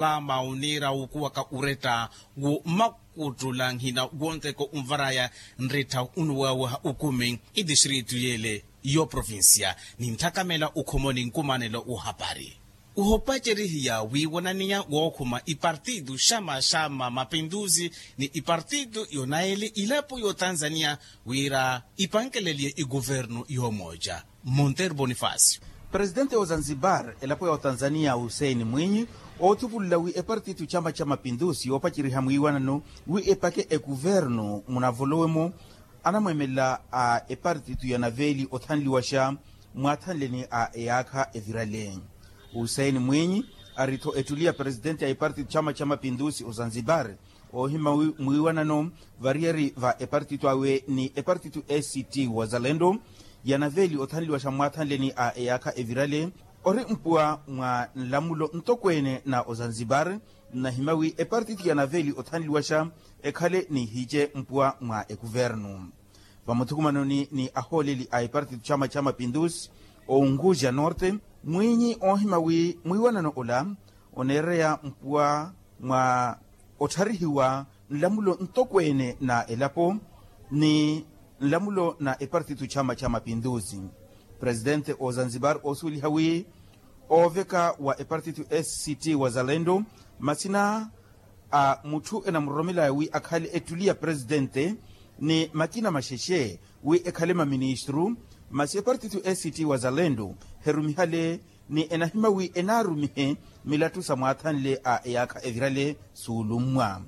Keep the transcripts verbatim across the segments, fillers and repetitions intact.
Paama oniira wukuwaka uretta wo mmakuttula nhina wonteko onvaraya nretta onuwawaha okumi etistritu yele y'oprovincia ni ntthakamela okhomoni nkumanelo w'ohapari. Ohopacerihiya wiiwananiya wookhuma ipartitu xama xama mapintusi ni ipartitu yonaeli ilapo y'otanzaniya wira ipankeleliye ikuvernu yoomoja. Monteiro bonifacio. Presitente wa zanzibar elapo ya otanzaniya hussein mwinyi oothupululla wi epartitu chama cha mapintusi yoopaceriha mwiiwanano wi epake ekuvernu munavolowe-mo anamweemelela a epartitu ya naveli othanliwaxa mwaathanleni a eyaakha evirale. Hussein mwinyi ari-tho ettuli ya presitente ya epartitu chama cha mapintusi ozanzibar oohima mwiiwanano variyari va epartitu awe ni epartitu act wazalendo ya naveli othanliwaxa mwaathanleni a eyaakha evirale ori mpuwa mwa nlamulo ntokweene na ozanzibar nnahima wi epartitu ya naveli othanliwaxa ekhale nihice mpuwa mwa ekuvernu. Vamuthukumanoni ni ahooleli a epartitu chama cha mapintusi ounguja norte mwinyi oohima wi mwiiwanano ola oneereya mpuwa mwa ottharihiwa nlamulo ntokweene na elapo ni nlamulo na epartitu chama cha mapintusi. Presitente ozanzibar oosuweliha wi ooveka wa epartitu act wazalendo masina a mutthu enamuroromelaya wi akhale ettuli ya presitente ni makina maxexe wi ekhale maministru masi epartitu act wazalendo herumihale ni enahima wi enaarumihe milattu sa mwaathanle a eyaakha evirale suulummwa.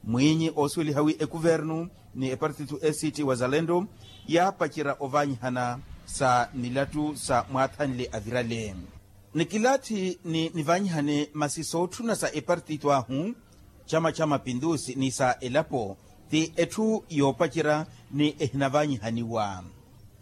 Mwinyi oosuweliha wi ekuvernu ni epartitu act wazalendo yaapacerya ovaanyihana sa milattu sa mwaathanle avirale ni kilaathi ni nivaanyihane masi sootthuna sa epartitu ahu chama cha mapintusi ni sa elapo ti etthu yoopacerya ni ehinavaanyihaniwa.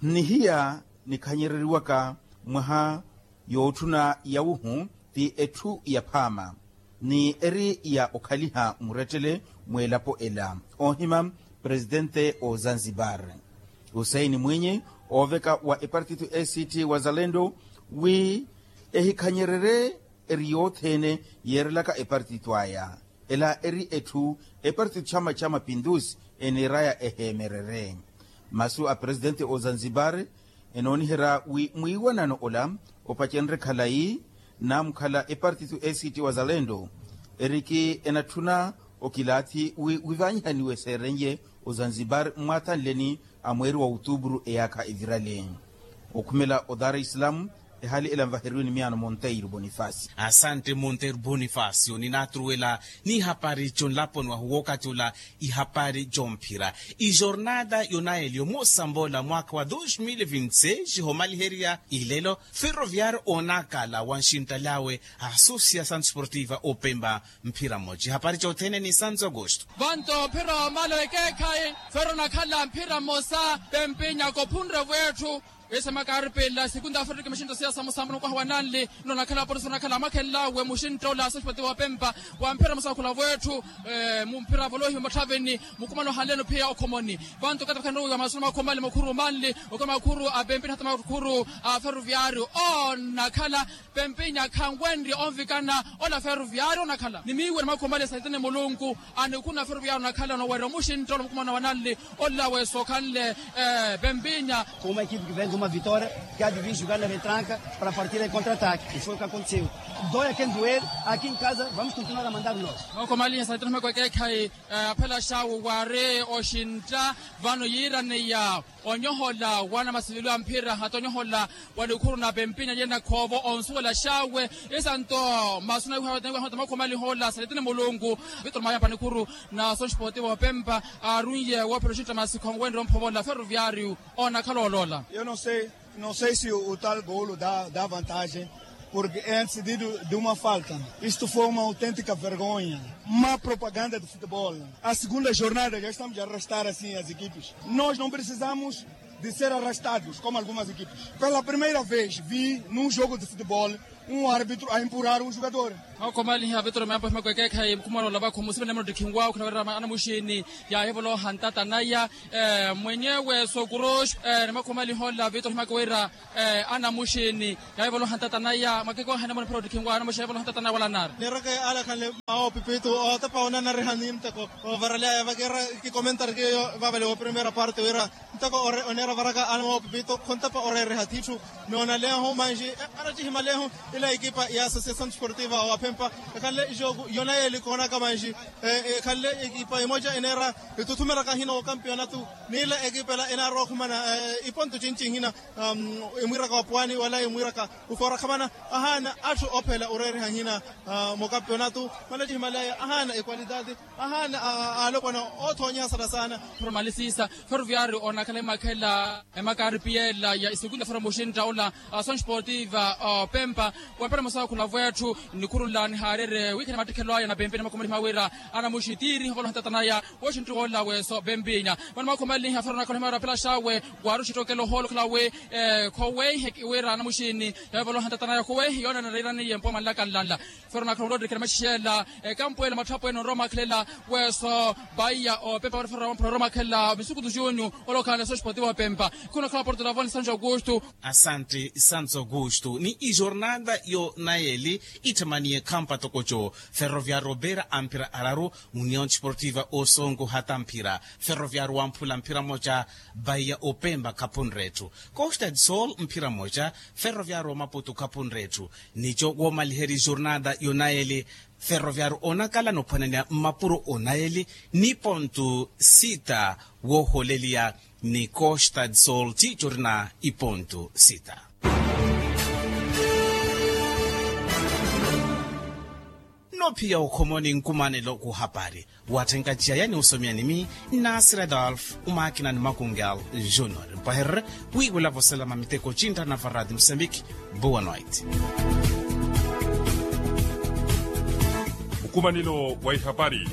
Nnihiya nikhanyereriwaka mwaha yootthuna yawuhu ti etthu yaphaama ni eri ya okhaliha murettele mw'elapo ela oohima presitente ozanzibar hussein mwinyi ooveka wa epartitu act wazalendo wi ehikhanyererye eri yothene yeerelaka epartitu aya ela eri etthu epartitu chama cha mapintusi eniiraya eheemererye. Masu a presitente ozanzibar enooniherya wi mwiiwanano ola opacenrye khalayi namukhala epartitu act wazalendo eriki enatthuna okilaathi wi wivaanyihaniwe seerenye ozanzibar mmwaathanleni a mweeri wa otupuru eyaakha evirale. Okhumela odar islam ehali ela nvaheriwe ni miyaano monteiro bonifacio. Asante monteiro bonifacio ninatruwela n'ihapari jonlaponi wahu wookatula ihapari jomphira ijornada yonaeli omosambola mwaakha wa dos mil vinti seis homaliherya ilelo ferroviario onakala wa nxinttali awe a associação desportiva opemba mphira mmoja ihapari jothene ni santo agosto. Vanto mphira omala wekeekhayi ferro onakhala mphira mmosa pempinya kophunre vwetthu. Ese makaari pela segunda afrika mixinto siya samusamuna okwaha wa nanli nno onakhala apolisi onakhala amakhenlawe muxinto ola asoxipoti wapempa wa mphira mmosa wakhula vwetthu. Mumphira volohiwe muthaveni mukumano hanleno phiya okhomoni vanto katakhannuwiwa masuna makhumali mukhuru manli okwa makhuru a pempinya hata makhuru a ferroviario onakhala pempinya khanwenrye onvikana ola ferroviario onakhala ni miiwe ni makhumali esahitene mulunku. Anikhuna ferroviario onakhala onowerya omuxinto ola mukumano wa nanli ola weso okhanle pempinya. Como uma equipe que vem de uma vitória que há de vir jogar na retranca para partir em contra-ataque e foi o que aconteceu. Dói a quem doer, aqui em casa vamos continuar a mandar o nosso. Makhumali esahitene humeko ekeekhayi aphela xawu waari oxintta vano yiiraneya onyohola wana masililo a mphira hata onyohola wa nikhuru na pempinya yena khoovo onsuwela xawe. Isanto masuna iwihawata makhomalihola saletini mulungu. Vitor mayampa nikhuru na soxipoti vopempa aarunye woophela oxintta masi khonwenre omphovola ferroviario onakhala oloola. Yo no sei no sei si o tal golo da da vantagem. Porque antes de uma falta isto foi uma autêntica vergonha. Má propaganda de futebol. A segunda jornada já estamos a arrastar assim as equipes. Nós não precisamos de ser arrastados como algumas equipes. Pela primeira vez vi num jogo de futebol um árbitro a empurrar um jogador. Makhomaliha vitoro meampo himakwekeekhayi mukhumwana olavakhu musivene munottikhinwa okhina wira anamuxini. Yaahivoloha ntata naya mwenyewe sokuroxo. Ni makhomaliha ola vitoro himakowira anamuxini. Yaahivoloha ntata naya mwakekohana muna phira ottikhinwa anamuxini yaahivoloha ntata naya wala nari. Nireke alakhanle mawo pipitu otepa onanariha ni nteko. Ovaralaya vakeera kikomentari keyo vavale wo primeira parte wira ntoko oneera varaka ana mopipito khontepa oreereha thitthu. Noonaleeho manji anattihimal'eho ila ekipa ya associação desportiva wa phempa ekhanle jogo yonayeli koonaka manji ekhanle ekipa emoja eneera etuthumeraka hina wo kampionatu. N'ila ekipa ela enaarwa okhumana ipontu cinci hina emwiiraka wa pwani wala emwiiraka ofoorakhamana ahaana atthu ophela oreereha hina mo kampionatu. Manattihimal'aya ahaana ekwalitati ahaana alopwana othoonya sara saana. Formalisiisa ferroviario onakhala emakhela emakaripiela ya isikunda foromuxintta ola. Asoon sportiva opempa wempera mosakhula vwetthu nikhurula nihaarere wiikhana mattikhelo aya na pempeni makhomaliha wira anamuxi tiiri ovoloha ntata naya woxintti wola weso pempinya. Mano makhomaliha fero nakhala himaarapela xawe waaruxi ttookela ohoolo khala wi khoweihe wira anamuxini yavoloha ntata naya khoweihe yoona nareeraniye mpuwa manlaka nlanla. Fero nakhala onroottikela maxixela ekampu ela matthapwene onrowa omakhalela weso paiya opempa wari fero wamphula onrowa omakhalela misukutu junyu. Olokhala na soxpotivo opempa khunakhala porto lavoni santo augusto. Asante santo augusto ni ijornada yo nayeli itthemaniye khampa tokoco. Ferroviario opera amphira araru union desportiva osongo hata mphira. Ferroviario wamphula mphira moca. Paiya opempa khapunre etthu costa de sol mphira moca. Ferroviario wa maputu khapunre etthu. Nico woomaliheri jornada yonayeli ferroviario onakala nophwananiya mmapuro onayeli ni pontu sita wooholeliya ni costa de sol tiico orina ipontu sita. Nophiya okhomoni nkumanelo kuhapari. Watthenka ciyaya ni osomya nimi nnasira adolf umaakina ni makungal junior mpahererye wiiwela voselama miteko cinttana varadi musambiki. Boa noite. Nkumanelo wa ihapari.